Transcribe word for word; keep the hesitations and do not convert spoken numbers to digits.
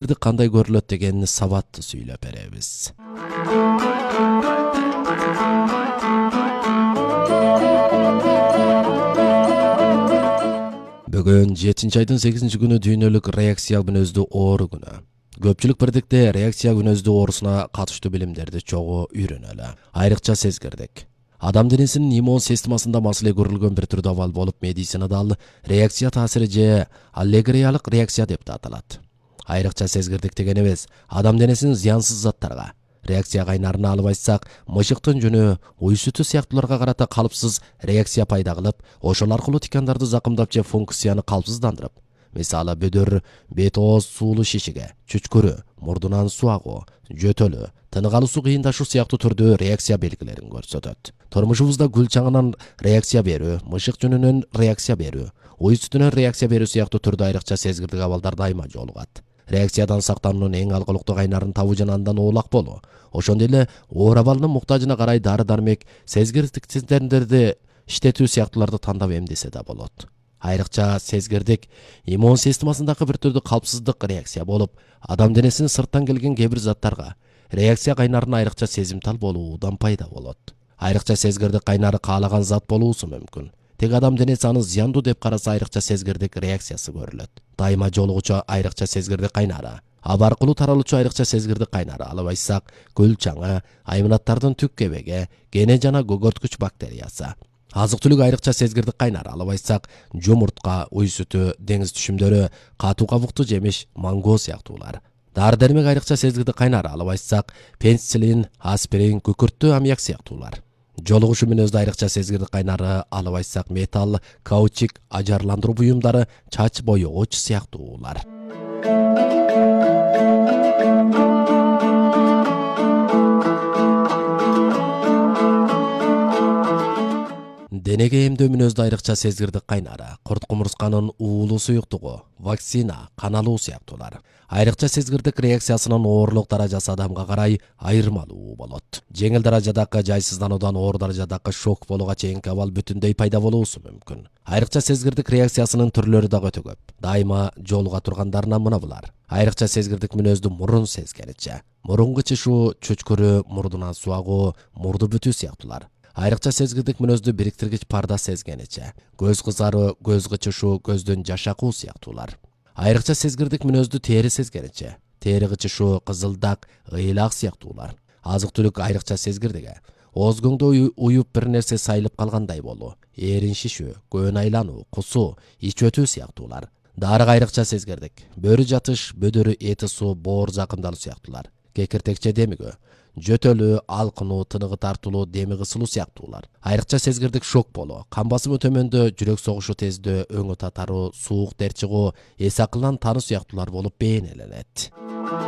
кандай көрүлөт дегенди сабаттуу сүйлөп беребиз. Бүгүн жетинчи айдын сегизинчи күнү дүйнөлүк реакция күнөздүү оору күнү. Көпчүлүк бирдикте реакция күнөздүү оорусуна катыштуу билимдерди чогуу үйрөнөлү. Айрыкча сезгирдик. Адам денесинин иммун системасында маселе көрүлгөн бир түрдүү абал болуп, медицинада ал реакция таасири же аллергиялык реакция деп да аталат. Айрыкча сезгирдик дегенибиз адам денесинин зыянсыз заттарга, реакция кайнарына алып айтсак, мышыктын жүнү, уй сүтү сыяктууларга карата калыпсыз реакция пайда кылып, ошол аркылуу тикандарды закымдап же функцияны калпсыздандырып, мисалы бөдөр, бет ооз суулуу шишиге, чүчкүрү, мурдунан суу агуу, жөтөлү, тынык алуусу кыйындашуу сыяктуу түрдүү реакция белгилерин көрсөтөт. Турмушубузда гүл чаңынан реакция берүү, мышык жүнүнөн реакция берүү, уй сүтүнөн реакция берүү сыяктуу түрдүү айрыкча сезгирдик абалдар дайыма жолугат. Реакциядан сактануунун эң алгылыктуу кайнарын табуу жана андан оолак болуу. Ошондой эле оор абалынын муктажына карай дары-дармек, сезгирдиктерди иштетүү сыяктууларды тандап эмдесе да болот. Айрыкча сезгирдик иммун системасындагы бир түрдүү калпсыздык реакция болуп, адам денесинин сырттан келген кээ бир заттарга реакция кайнарына айрыкча сезимтал болуудан пайда болот. Айрыкча сезгирдик кайнары каалаган зат болуусу мүмкүн. Тек адам денеси аны зыяндуу деп караса айрыкча сезгирдик реакциясы көрүлөт. Дайыма жолугучу айрыкча сезгирдик кайнары, аба аркылуу таралуучу айрыкча сезгирдик кайнары, алып айтсак, гүл чаңы, айманаттардын түк кебеги, кене жана көгөрткүч бактериясы. Азык-түлүк айрыкча сезгирдик кайнары, алып айтсак, жумуртка, уй сүтү, деңиз түшүмдөрү, катуу кабуктуу жемиш, манго сыяктуулар. Дары-дармек айрыкча сезгирдик кайнары, алып айтсак, пенициллин, аспирин, күкүрттүү аммиак сыяктуулар. Жолугушу мүнөздүү айрыкча сезгирдик кайнары, алып айтсак, металл, каучук, ажарландыруу буюмдары, чач боёгуч сыяктуулар. Денеге эмдөө мүнөздүү айрыкча сезгирдик кайнары, курт кумурсканын уулуу суюктугу, вакцина, кан алуу сыяктуулар. Айрыкча сезгирдик реакциясынын оорлук даражасы адамга карай айырмалуу болот. Жеңил даражадагы жайсыздануудан оор даражадагы шок болууга чейинки абал бүтүндөй пайда болуусу мүмкүн. Айрыкча сезгирдик реакциясынын түрлөрү дагы өтө көп. Дайыма жолуга тургандарынан мына булар. Айрыкча сезгирдик мүнөздүү мурун сезгеничи, мурун кычышуу, чүчкүрү, мурдунан суу агуу, мурду бүтүү сыяктуулар. Айрыкча сезгирдик мүнөздүү бириктиргич парда сезгеничи, көз кызаруу, көз кычышуу, көздөн жаш акуу сыяктуулар. Айрыкча сезгирдик мүнөздүү тери сезгеничи, тери кычышуу, кызылдак, ыйлак сыяктуулар. Азык-түлүк айрыкча сезгирдиги, оозгоңдо уюп бир нерсе сайылып калгандай болуу, эрин шишүү, көөн айлануу, кусуу, ич өтүү сыяктуулар. Дарыга айрыкча сезгирдик, бөрү жатыш, бөдөрү эти суу, боор закымдалуу сыяктуулар. Кекиртекче демигүү, жөтөлүү, алкынуу, тыныгы тартылуу, деми кысылуу сыяктуулар. Айрыкча сезгирдик шок болуу, кан басымы төмөндөө, жүрөк согушу тездөө, өңү татаруу, суук дерт чыгуу, эс акылдан тануу сыяктуулар болуп бейнеленет.